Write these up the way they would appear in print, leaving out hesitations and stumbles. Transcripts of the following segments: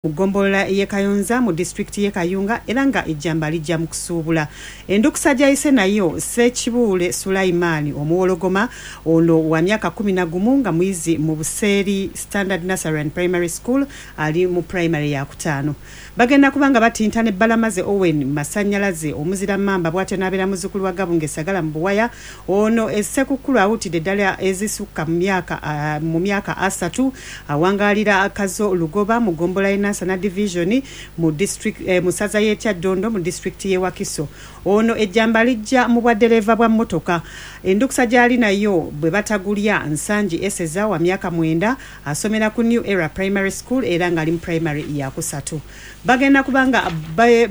Mu ggombolola y'e Kayonza mu disitulikiti y'e Kayunga era nga ejjamba lijja mu kusuubula. Endukusa gy'ayise nayo Ssekibuule Sulaiman Omuwologoma ono wa myaka 11 nga muyizi mu Buseeri Standard Nursery and Primary School ali mu pulayimale yaakutaano. Bagenda kuba nga batinta ne Balamaze Owen Masannyalaze omuzira Mmamba bw'atyo n'abeera muzzukulu wa Gabunga e Ssagala mu Buwaya. Ono e Ssekukkulu awuutidde ddala ezisukka mu myaka mu myaka asatu. Awangaalira Kazo Lugoba mu ggombolola y'e Nansana Division mu district mu ssaza y'e Kyaddondo mu disitulikiti y'e Wakiso. Ono ejjamba alijja mu bwaddereeva bwa mmotoka. Endukusa gy'ali nayo bwe batagulya Nsangi Eseza wa myaka mwenda asomera ku New Era Primary School era ng'ali mu pulayimale yaakusatu. Bagenda kuba nga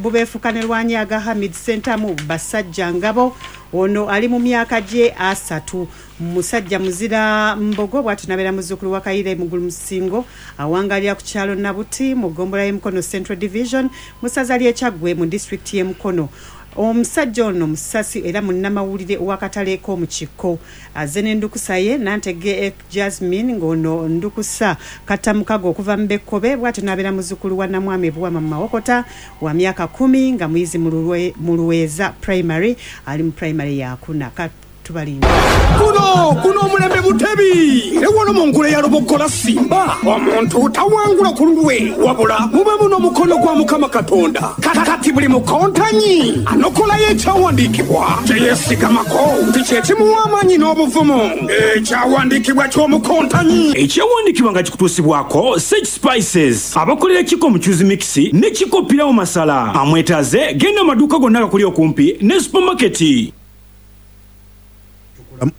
bubeefuka ne Lwanyaga Hamid Ssentamu Basajja Ngabo. Ono ali mu myaka gye asatu. Musajja muzira Mbogo bw'atyo n'abeera muzzukulu wa Kayiira e Mugulu Musingo. Awangaalira ku kyalo Nabuti mu ggombolola y'e Mukono Central Division mu ssaza ly'e Kyaggwe mu disitulikiti y'e Mukono. Omusajja ono musasi era munnamawulire w'akatale k'omu kikko. Azze n'endukusa ye Nantege Jasmine ng'ono ndukusa kattamukago okuva mu Bekkobe bw'atyo n'abeera muzzukulu wa Namwami Buwama mu Mawokota wa myaka kkumi nga muyizi mu Luweeza Primary ali mu pulayimale yaakuna. Ka tubalinde. Guno guno omulembe butebi era wano mu ngule ya Luboggola Simba omuntu tawangula ku lulwe wabula mubamu n'omukono gwa Mukama Katonda. Kati buli mukontanyi anokolayo ekyawandiikibwa kye yeesigamako nti kye kimuwa amaanyi n'obuvumu. Ekyawandiikibwa ky'omukontanyi. Ekyawandiikibwa nga kikutuusibwako Sage Spices abakolera Kiko Muchuzi Mix ne Kiko Pilau Masala. Amwetaaze genda mu maduuka gonna agakuli okumpi ne supamaketi.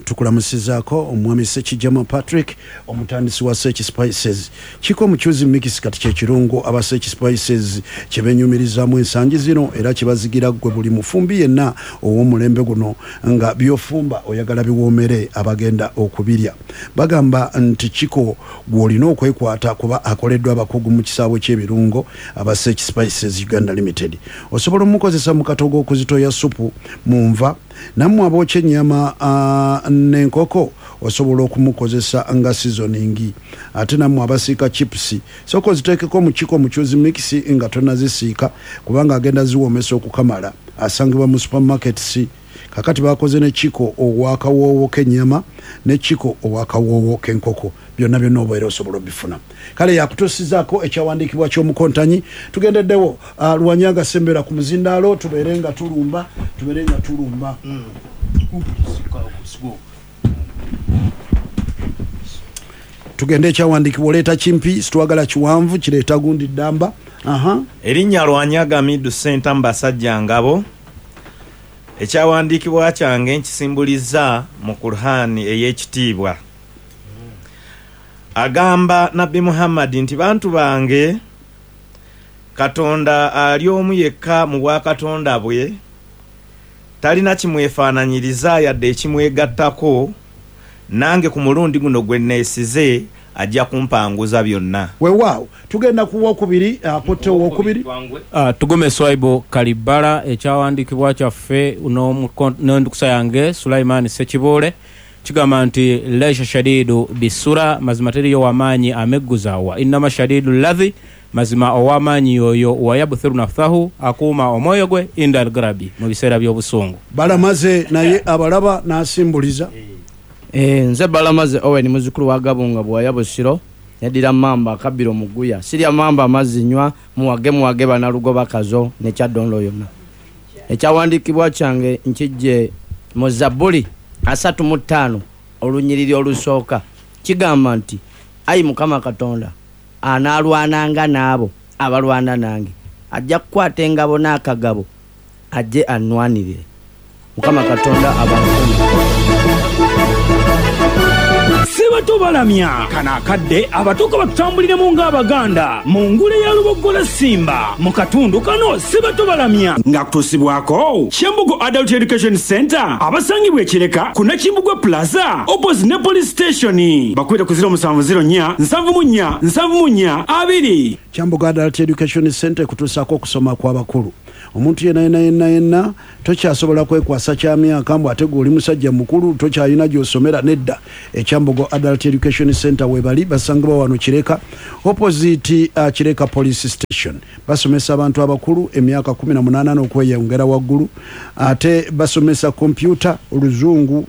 Tukulamusizaako omwami Ssekijama Patrick omutandisi wa Seki Spices. Kiko Muchuzi Mix kati kye kirungo aba Seki Spices kye benyumirizaamu ensangi zino era kye bazigira ggwe buli mufumbi yenna ow'omulembe guno nga by'ofumba oyagala biwoomere abagenda okubirya. Bagamba nti Kiko gw'olina okwekwata kuba akoleddwa abakugu mu kisaawe ky'ebirungo aba Seki Spices Uganda Limited. Osobola omukozesa mu katogo okuzitoya ssupu mu nva. Nammwe abookya ennyama n'enkoko osobola okumukozesa nga seasoning. Ate nammwe abasiika chips sooka oziteekeko mu Kiko Muchuzi Mix nga tonnazisiika kubanga agenda ziwoomesa okukamala. Asangibwa mu supermarkets. Kakati bakoze ne Kiko ow'akawoowo k'ennyama ne Kiko ow'akawoowo k'enkoko. Byonna byonna obeera osobola obifuna. Kale yakutuusizaako ekyawandiikibwa ky'omukontanyi. Tugendeddewo Lwanyaga sembera ku muzindaalo tubeere nga tulumba tubeere nga tulumba. Tugende ekyawandiikibwa oleeta kimpi sitwagala kiwanvu kireeta gundi ddamba. Aha. Erinnya Lwanyaga Midu Ssentamu Basajja Ngabo. Ekyawandiikibwa kyange nkisimbuliza mu Kur'ani ey'ekitiibwa. Agamba Nabbi Muhammad nti bantu bange Katonda ali omu yekka mu bwakatonda bwe, talina kimwefaananyiriza yadde ekimwegattako, nange ku mulundi guno gwe neesize ajja kumpanguza byonna. Weewaawo tugenda ku wokubiri akutte owokubiri. Tugume Swaibu Kalibbala, Ekyawandiikibwa kyaffe n'endukusa yange Sulaiman Ssekibuule kigamba nti, Laisa shadiidu bissura, mazima teriiyo wa maanyi amegguza, wa innama shadiidu lladhi, mazima ow'amaanyi y'oyo wayabthiru nafthahu, akuuma omwoyo gwe, inda algarabi, mu biseera by'obusungu. Balamaze naye abalaba n'asimbuliza. Nze Balamaze Owen muzzukulu wa Gabunga Bwaya Busiro, neddira Mmamba akabbiro Muguya. Sirya mmamba amazzi nnywa, muwage muwage Banalugoba Kazo ne Kyaddondo yonna. Ekyawandiikibwa kyange nkiggye mu Zabbuli 35 olunyiriri olusooka. Kigamba nti, Ayi Mukama Katonda, anaalwananga n'abo abalwana nange. Ajja kukwata engabo n'akagabo, ajje annwanirire. Mukama Katonda abankuume. Ssebato balamya kano akadde abato ka batutambuliremu ng'Abaganda mu ngule ya Luboggola Ssimba mu katundu kano Ssebato balamya ng'akutuusibwako Kyambogo Adult Education Centre abasangibwa e Kireka ku Nakimbugwe Plaza opposite ne Police Station. Bakubire ku 0704 74 74 2. Kyambogo Adult Education Centre ekutuusaako okusoma kw'abakulu. Omuntu yenna yenna yenna yenna tokyasobola kwekwasa kya myaka mbu ate gwe oli musajja mukulu tokyalina gy'osomera. Nedda, Ekyambogo Adult Education Center webali, basangibwa wano Kireka, opposite Kireka Police Station. Basomesa abantu abakulu emyaka 18 n'okweyongera waggulu, ate basomesa kompyuta, oluzungu,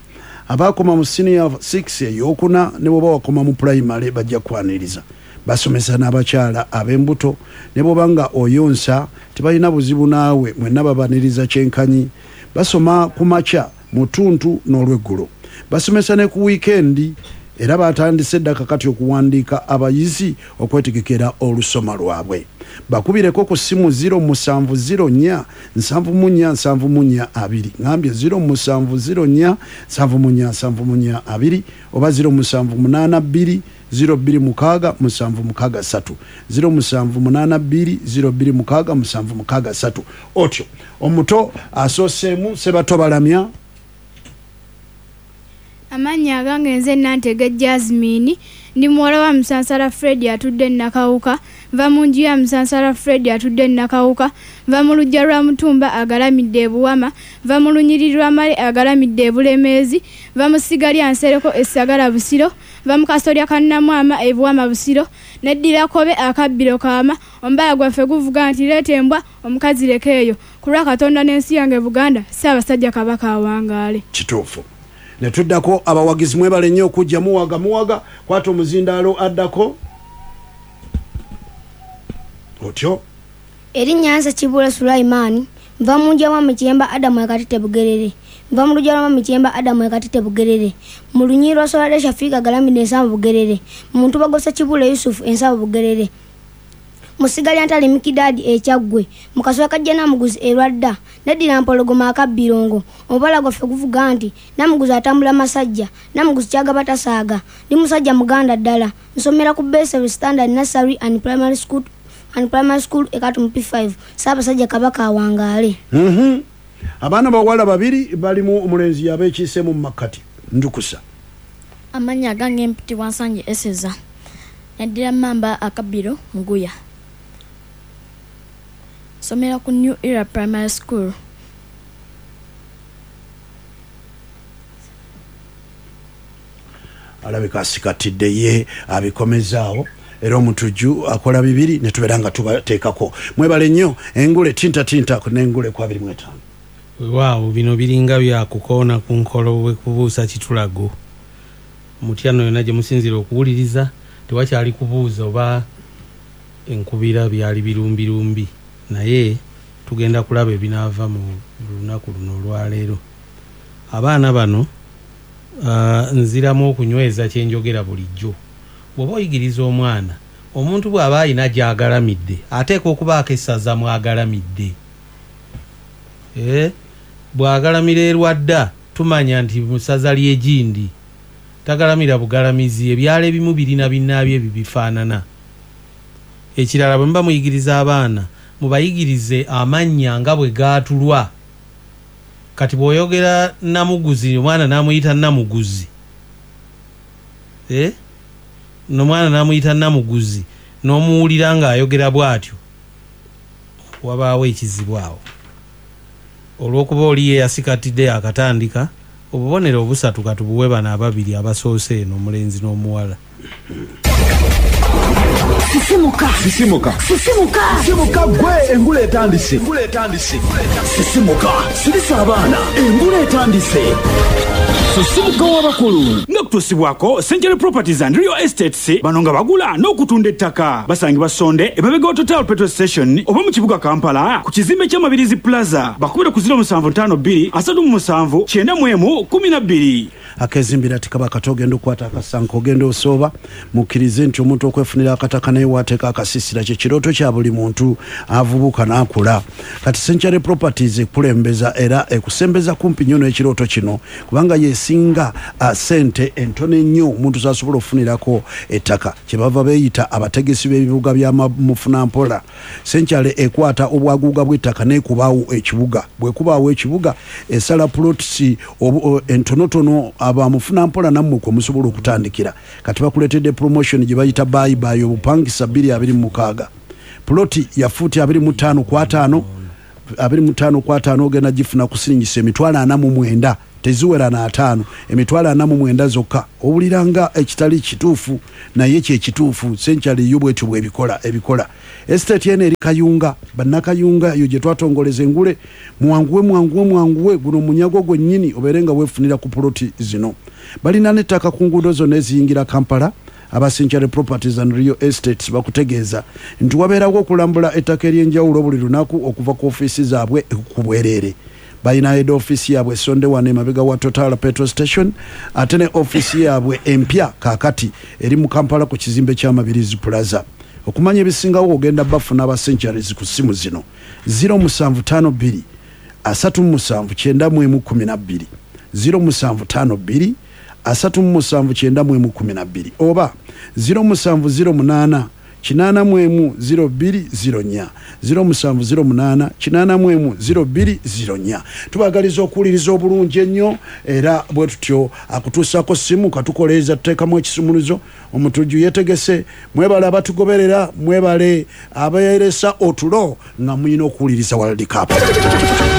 abakoma mu senior 6 eyokuna ne bwoba wakoma mu primary bajja kwaniriza. Basomesa n'abakyala ab'embuto, ne bwoba nga oyonsa tebalina buzibu naawe, mwenna babaniriza kyenkanyi. Basoma ku makya, mu ttuntu n'olweggulo. Basomesa ne ku wiikendi, era batandise dda kakati okuwandiika abayizi okwetegekera olusoma lwabwe. Bakubireko ku ssimu 0704 74 74 2, ngambye 0704 74 74 2, oba 0782 026 763, 0782 026 763. Otyo omuto asooseemu Sebato Balamya. Amannya agange nze Nantege Jasmine, ndi muwala wa Musansala Fred atudde Nakawuka, nva mu nju ya Musansala Fred atudde Nakawuka, nva mu luggya lwa Mutumba agalamidde e Buwama, nva mu lunyiriri lwa Male agalamidde e Bulemeezi, nva mu ssiga lya Nsereko e Ssagala Busiro, nva mu kasolya ka Nnamwama e Buwama Busiro, neddira Kobe akabbiro kaama. Omubala gwaffe guvuga nti leeta embwa omukazi leka eyo, ku lwa Katonda n'ensi yange Buganda, Ssaabasajja Kabaka awangaale. Kituufu. Ne tuddako abawagizi, mwebale nnyo okujja, muwaga muwaga. Kwata omuzindaalo addako otyo. Erinnya nze Kibula Sulaimaani, nva mu nju ya Mwami Kiyemba Adamu e Katete Bugerere, nva mu luggya lwa Mwami Kiyemba Adamu e Katete Bugerere, mu lunyiriri lwa Solade Shafiika Galamidde Ensambu Bugerere, mu ntuba Gosa Kibula Yusufu Ensambu Bugerere, mu ssiga lya Ntale Mikidaadi e Kyaggwe, mu kasolya ka Namuguzi e Lwadda, neddira Mpologoma akabbirongo. Omubala gwaffe guvuga nti Namuguzi atambula masajja, Namuguzi kyagaba tasaaga. Ndi musajja Muganda ddala, nsomera ku Beseri Standard Nursery and Primary School e Katumu P5. Ssaabasajja Kabaka awangaale. Abaana bawala babiri balimu omulenzi yabeekiise mu makkati. Ndukusa. Amannya agange mpitibwa Nsangi Eseza, neddira Mmamba akabbiro Muguya, nsomera ku New Era Primary School. Alabika asikatidde ye abikomezaawo, era omutujju akola bibiri ne tubeera nga tubateekako. Mwebale nnyo. Engule tinta tinta n'engule ku 25. Weewaawo, bino biringa byakukoona ku nkolo wekubuusa kitulago. Mutyano yonna gye musinziira okuwuliriza tewakyali kubuuza oba enkubira byali birumbirumbi, naye tugenda kulaba ebinaava mu lunaku luno olwaleero. Abaana bano nziramu okunyweza kyenjogera bulijjo. Bw'oba oyigiriza omwana, omuntu bw'aba alina gy'agalamidde ateekwa okubaako essaza mw'agalamidde. Bw'agalamira erwadda tumanya nti mu ssaza ly'egindi, tagalamira bugalamizi. Ebyalo ebimu birina binnaabyo ebibifaanana. Ekirala, bwe muba muyigiriza abaana mubayigirize amannya nga bwe gaatulwa. Kati bw'oyogera Namuguzi, omwana n'amuyita Namuguzi, n'omwana n'amuyita Namuguzi n'omuwulira ng'ayogera bw'atyo, wabaawo ekizibu awo. Olw'okuba oli ye yasikatidde akatandika, obubonero obusatu katubuwe bano ababiri abasoose eno, omulenzi n'omuwala. Sisimuka, sisimuka, sisimuka, sisimuka gwe, engule etandise, engule etandise. Sisimuka, sirisa abaana, engule etandise. Sisimuka w'abakulu. Nga kutuusibwako Century Properties and Real Estates, bano nga bagula n'okutunda ettaka. Basangibwa Sonde emabega wa Total Petrol Station oba mu kibuga Kampala ku kizimbe ky'Amabirizi Plaza. Bakubira ku 0752 37 91 12. Akezimbira tikaba kato ogenda okukwata akasanko ogenda osooba. Mukkirize nti omuntu okwefunira akataka naye wateeka akasisira kye kirooto kya buli muntu avubuka n'akula. Kati Century Properties ekulembeza era ekusembeza kumpi nnyo n'ekirooto kino, kubanga yesinga sente entono ennyo omuntu z'asobola okufunirako ettaka. Kyebava beeyita abategesi b'ebibuga bya mufunampola. Century ekwata obwaguuga bw'ettaka n'ekubaawo ekibuga. Bw'ekubaawo ekibuga esala plots entonotono abamufunampola nammwe kwe musobola okutandikira. Kati bakuleetedde promotion gye bayita bye bye obupangisa 2026. Ploti ya fuuti 25 ku 50 25 ku 50 ogenda gifuna kusiringisa emitwalo 49, teziwera na 5, emitwalo 49 zokka. Owulira nga ekitali kituufu, naye kyekituufu. Century yo bwetyo bwebikola ebikola. Estate eno eri Kayunga, bannakayunga eyo gye twatongoleza engule. Mwanguwe, mwanguwe, mwanguwe, guno munyago gwennyini obeere nga weefunira ku poloti zino. Balina n'ettaka ku nguudo zonna eziyingira Kampala. Aba Century Properties and Real Estates bakutegeeza nti wabeerawo okulambula ettaka ery'enjawulo buli lunaku okuva ku ofiisi zaabwe ku bwereere. Balina head office yaabwe esonde wano emabega wa Total petrol station, ate ne ofiisi yaabwe empya kaakati eri mu Kampala ku kizimbe ky'Amabirizi Plaza. Okumanya ebisingawo ogenda bafuna aba Centuries ku ssimu zino: 0752 37 91 12, 0752 37 91 12, oba 0708 81 0204, 0708 81 0204. Tubagaliza okuwuliriza obulungi ennyo, era bwe tutyo akutuusaako simu katukoleeza, tuteekamu ekisumuluzo. Omutujju yetegese. Mwebale abatugoberera, mwebale abeeresa otulo nga mulina okuwuliriza World Cup.